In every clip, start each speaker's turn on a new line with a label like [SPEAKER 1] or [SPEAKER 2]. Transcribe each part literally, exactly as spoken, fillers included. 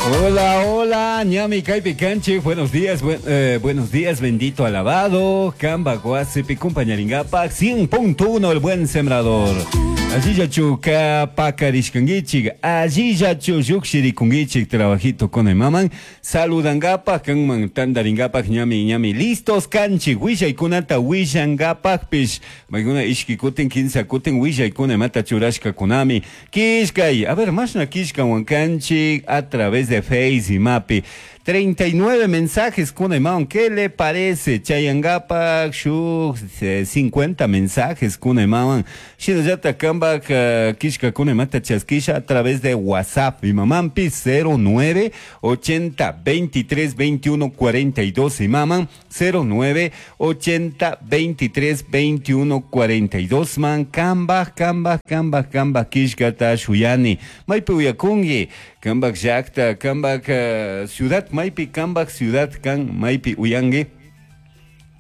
[SPEAKER 1] Hola, hola, ñami kaypi kanchik, buenos días, buen, eh, buenos días, bendito alabado, Kamba Guasipi, compañeringapa, cien punto uno, el buen sembrador. Allillachu ka pakarishkankichik, allillachu llukshirikunkichik, trabajito con el maman, saludangapak, kanman tandaringapak, ñami, ñami, listos kanchik, willaykunata willangapakpish, maykuna ishki kutin, kinsa kutin, willaykuna imata churashkakunami, kishkay, a ver, mashna kishkawan kanchik, a través de Face y Mapi. treinta y nueve mensajes con el ¿qué le parece? Chayangapak, shuk, cincuenta mensajes con el maman. Shinallata kambak, kishka con el mata chaskisha a través de WhatsApp. Mi mamampi cero nueve ochenta veintitrés veintiuno cuarenta y dos. Mi mamá cero nueve ochenta veintitrés veintiuno cuarenta y dos. Man, kambak, kambak, kambak, kambak, kishkata shuyani. Maypi uyakungi, kambak llakta, kambak, uh, ciudad, maypi kambak ciudad kan maypi uyangi.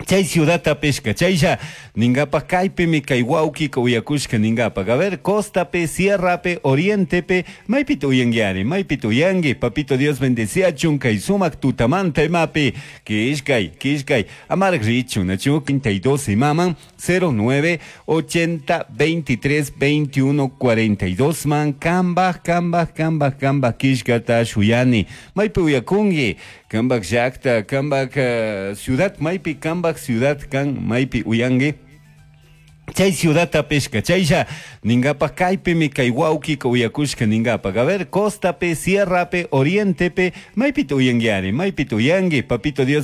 [SPEAKER 1] Chay ciudad pesca, chaylla ningapa kaypimi kay wawkika uyakushka ningapa. A ver, costa pe, sierra pe, oriente pe, maypi uyanguiari, maypi uyangi, papito Dios bendecía kay sumak tutamanta imapi, kishkay, kishkay, amarg richu, nachu, quinta y dos y maman, cero nueve, ochenta, veintitrés, veintiuno, cuarenta y dos, man, kamba, kamba, kamba, kamba, kishkata, shuyani, maypi uyakungi, kambak llakta, kambak, uh, ciudad, maypi kambak ciudad kan maypi uyangi. Chay ciudad pesca, chaylla ningapa kaypimi kay wawkika uyakushka ningapa. A ver, costa pe, sierra pe, oriente pe, maypi uyanguiari, maypi uyangi, papito Dios